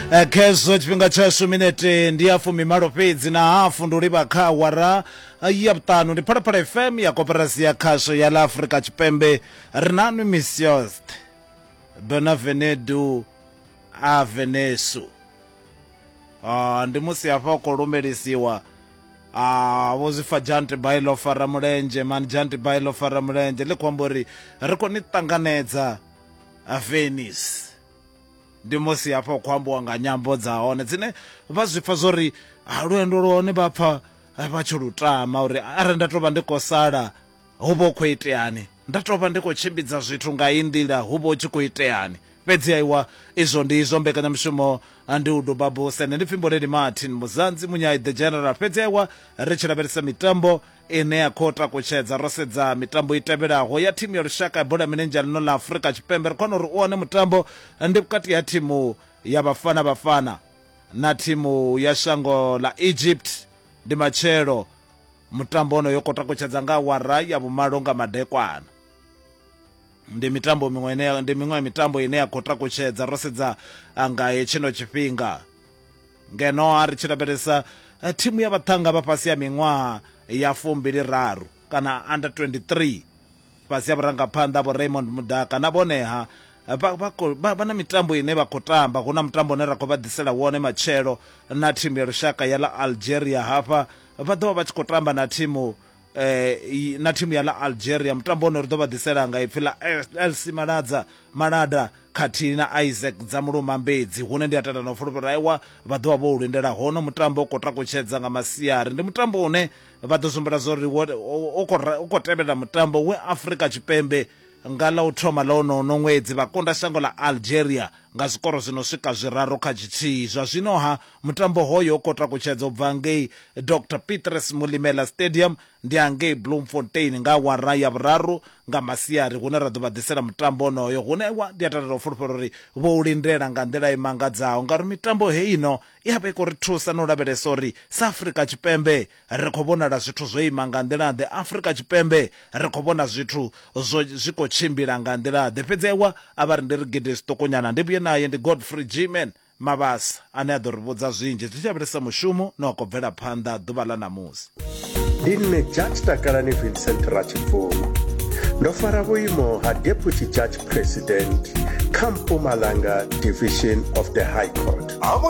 Khezwo tshifhinga tshashu minete ndi ya fumimalo fhedzi na hafu ndi u livha kha awara ya vhuṱanu. Ndi Phalaphala FM ya Koporasi ya Khasho ya ḽa Afrika Tshipembe. Ri na nwi Misiost Bonavenedu a Venesu. Ah, ndi musi hafha u khou lumelisiwa ah, vho zwi pfa Janti Bai ḽo fara mulenzhe mani Janti Bai ḽo fara mulenzhe ḽi khou amba uri ri khou ni ṱanganedza Venice. Ndi musi hafha hu khou ambiwa nga nyambo dza hone dzine vha zwi pfa zwori ha lwendo lwa hone vha pfa vha tshi lu tama uri arali nda tou vha ndi khou sala hu vha hu khou iteani, nda tou vha ndi khou tshimbidza zwithu nga iyi nḓila hu vha hu tshi khou iteani. Fhedzi aiwa izwo ndi izwo, mbekanyamushumo ndi u duba buse. Nṋe ndi pfi Mboleli Martin Muzanzi Munyai the General. Fhedzi aiwa ri tshi lavhelesa mitambo ine ya khou takutshedza ro sedza mitambo i tevhelaho ya thimu ya lushaka ya bola ya milenzhe ya ḽino ḽa Afrika Tshipembe, ri khou wana uri u wane mutambo ndi vhukati ha thimu ya Bafana Bafana na thimu ya shango ḽa Egypt. Ndi matshelo mutambo wonoyo khou takutshedza nga awara ya vhumalo nga madekwana. Ndi mitambo miṅwe ine ndi miṅwe ya mitambo ine ya khou takutshedza ro sedza nga hetshino tshifhinga. Ngeno a ri tshi lavhelesa eh, thimu ya vhaṱhannga vha fhasi ya miṅwaha ya fumbili raru kana under 23 fhasi ya vhurangaphanḓa vho Raymond Mudaka na vhone ha vha, vha, vha, vha na mitambo ine vha khou tamba. Hu na mutambo une ra khou vha ḓisela wone matshelo na thimu ya lushaka ya ḽa Algeria. Hafha vha ḓo vha vha tshi khou tamba na thimu eh, na thimu ya ḽa Algeria. Mutambo une ri ḓo vha ḓisela nga ipfi ḽa LC Maladza Malada khathihi na Isaac Dzamuluma Mbedzi, hune ndi a tenda na u fulufhela aiwa vha ḓo vha vho u lindela hono mutambo u khou takutshedza nga masiari. Ndi mutambo une vha ḓo sumbela zwa uri u khou tevhelela mutambo we Afrika Tshipembe nga ḽa u thoma ḽa wonono ṅwedzi vha kunda shango ḽa Algeria nga zwikoro zwi no swika zwiraru kha tshithihi. Zwa zwino-ha mutambo hoyo u khou takutshedza u bva ngei Dr Petrus Molimela Stadium Ndi hangei Bloemfontein nga awara ya vhuraru nga masiari hune ra ḓo vha ḓisela mutambo onoyo, hune wa ndi a takalela u fulufhela uri vho u lindela nga nḓila i mangadzaho ngauri mitambo heino i a vha i khou ri thusa na u lavhelesa uri sa Afrika Tshipembe ri khou vhonala zwithu zwo ima nga nḓila-ḓe, Afrika Tshipembe ri khou vhona zwithu zwo zwi khou tshimbila nga nḓila-ḓe. Fhedzi aiwa a vha ri ndi ri gidi zwiṱukunyana ndi vhuye naye ndi Godfrey G-Man Mabasa ane a ḓo ri vhudza zwinzhi zwi tshi lavhelesa mushumo na wa khou bvela phanḓa ḓuvha ḽa ṋamusi. Ndi nṋe Judge Takalani Vincent Ratshibvumo. Ndo fara vhuimo ha Deputy Judge President kha Mpumalanga Division of the High Court.